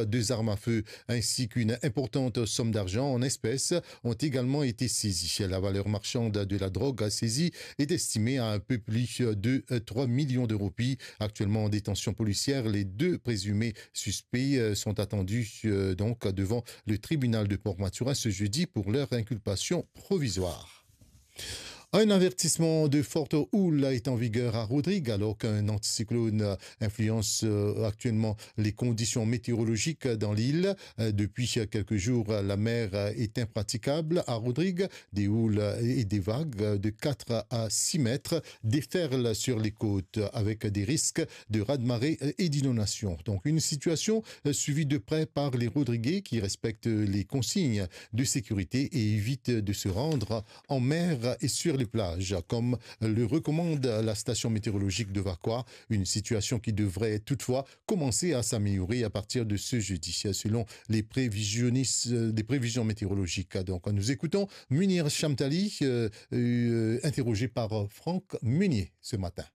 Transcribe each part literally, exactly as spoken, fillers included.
deux armes à feu ainsi qu'une importante somme d'argent en espèces ont également été saisies. La valeur marchande de la drogue saisie est estimée à un peu plus de trois millions de roupies. Actuellement en détention policière, les deux présumés suspects, euh, sont attendus, euh, donc devant le tribunal de Port Mathurin ce jeudi pour leur inculpation provisoire. Un avertissement de forte houle est en vigueur à Rodrigues, alors qu'un anticyclone influence, euh, actuellement les conditions météorologiques dans l'île. Euh, depuis quelques jours, la mer est impraticable à Rodrigues. Des houles et des vagues de quatre à six mètres déferlent sur les côtes, avec des risques de raz-de-marée et d'inondation. Donc, une situation, euh, suivie de près par les Rodriguais qui respectent les consignes de sécurité et évitent de se rendre en mer et sur les plages, comme le recommande la station météorologique de Vacoas, une situation qui devrait toutefois commencer à s'améliorer à partir de ce jeudi, selon les prévisionnistes, euh, les prévisions météorologiques. Donc, nous écoutons Munir Chamtali, euh, euh, interrogé par Franck Meunier ce matin.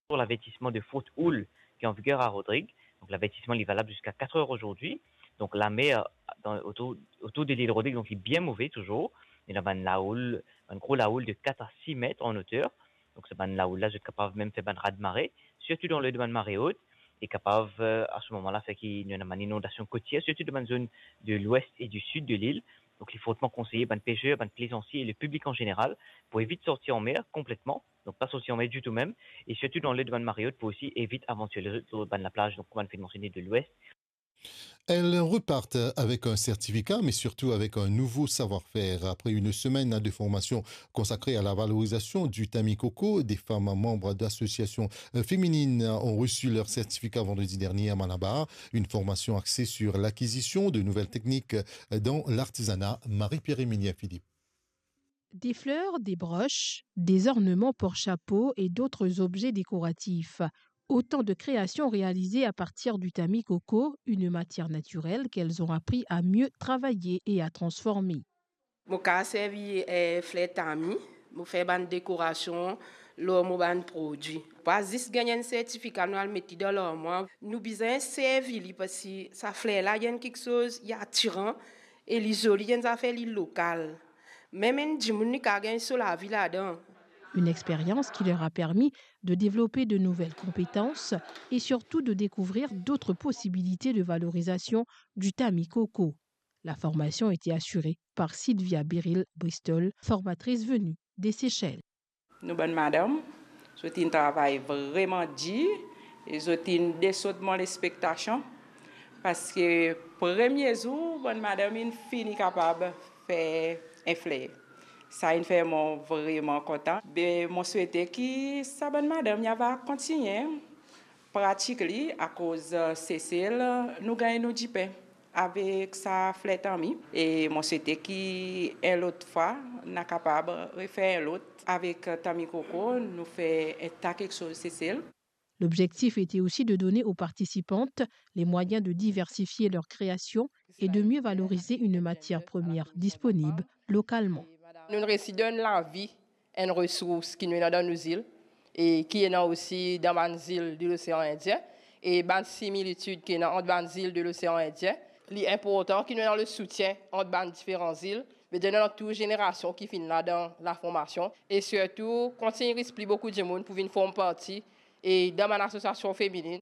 Pour l'avertissement de forte houle qui est en vigueur à Rodrigues. Donc, l'avertissement, il est valable jusqu'à quatre heures aujourd'hui. Donc, la mer, dans, autour, autour de l'île Rodrigues, donc, il est bien mauvais toujours. Il y a une lahoule, une grosse lahoule de quatre à six mètres en hauteur. Donc, c'est une lahoule là, je suis capable même faire une raz-de-marée, surtout dans le domaine marée haute, et capable, euh, à ce moment-là, fait qu'il y a une inondation côtière, surtout dans une zone de l'ouest et du sud de l'île. Donc, il est fortement conseillé, ben, pêcheurs, ben, plaisanciers et le public en général, pour éviter de sortir en mer complètement. Donc, pas sortir en mer du tout même. Et surtout dans le domaine marée haute, pour aussi éviter avant de sur le, sur le banc de la plage, donc, comme on fait mentionner de l'ouest. Elles repartent avec un certificat, mais surtout avec un nouveau savoir-faire. Après une semaine de formation consacrée à la valorisation du tammy coco, des femmes membres d'associations, euh, féminines ont reçu leur certificat vendredi dernier à Malabar. Une formation axée sur l'acquisition de nouvelles techniques dans l'artisanat. Marie-Pierre-Émilien Philippe. Des fleurs, des broches, des ornements porte-chapeau et d'autres objets décoratifs. Autant de créations réalisées à partir du tammy coco, une matière naturelle qu'elles ont appris à mieux travailler et à transformer. Mo kapav servi, eh, fler tammy, mo fer bann dekorasion lor mo bann prodwi. Pa zis gagn enn sertifika, nou al met li dan larmwar. Nou bizin servi li parski sa fler la, li enn kiksoz, li atiran e li zoli, li enn zafer, li lokal. Mem enn dimoun, li kapav gagn so lavi ladan. Une expérience qui leur a permis de développer de nouvelles compétences et surtout de découvrir d'autres possibilités de valorisation du tammy coco. La formation a été assurée par Sylvia Biril Bristol, formatrice venue des Seychelles. Nou bann madam, zot inn travay vreman dir e zot inn desot mo lespektasion, parski premie zour bann madam inn fini kapav fer enn fler. Sa inn fer mo vreman kontan. Be mo swete ki sa bann madam ya va kontigne pratik li, akoz, eh, Sesel, nou gagn nou dipin avek sa fler tammy. E mo swete ki enn lot fwa, nou a kapav refer enn lot avek tammy coco, nou fer enn ta kiksoz Sesel. L'objectif était aussi de donner aux participantes les moyens de diversifier leurs créations et de mieux valoriser une matière première disponible localement. Nou resi donn lavi enn resours ki nou ena dan nou zil e ki ena osi dan bann zil de Losean Indien e bann similitid ki ena ant bann zil de Losean Indien. Li inportan ki nou ena le soutien ant bann diferan zil, me ena tou zenerasion ki finn la dan laformasion e sirtou kontign res pli boukou dimoun pou vinn form parti e dan bann asosiasion feminin.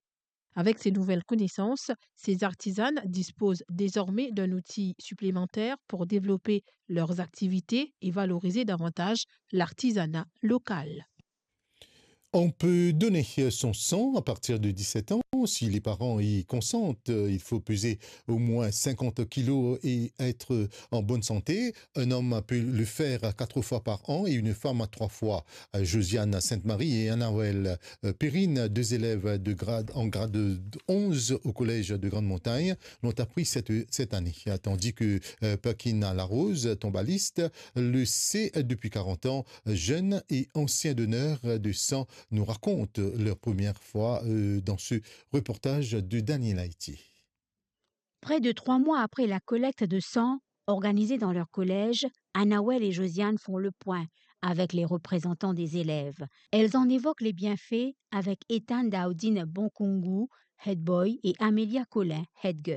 Avec ces nouvelles connaissances, ces artisanes disposent désormais d'un outil supplémentaire pour développer leurs activités et valoriser davantage l'artisanat local. On peut donner son sang à partir de dix-sept ans. Si les parents y consentent, il faut peser au moins cinquante kilos et être en bonne santé. Un homme peut le faire quatre fois par an et une femme trois fois. Josiane Sainte-Marie et Anaël, euh, Perrine, deux élèves de grade, en grade onze au collège de Grande Montagne, l'ont appris cette, cette année. Tandis que, euh, Paquina Larose, tombaliste, le sait depuis quarante ans, jeune et ancien donneur de sang, nous raconte leur première fois, euh, dans ce reportage de Daniel Haïti. Près de trois mois après la collecte de sang organisée dans leur collège, Anaël et Josiane font le point avec les représentants des élèves. Elles en évoquent les bienfaits avec Ethan Daudine Bonkungu, head boy, et Amelia Collin, head girl.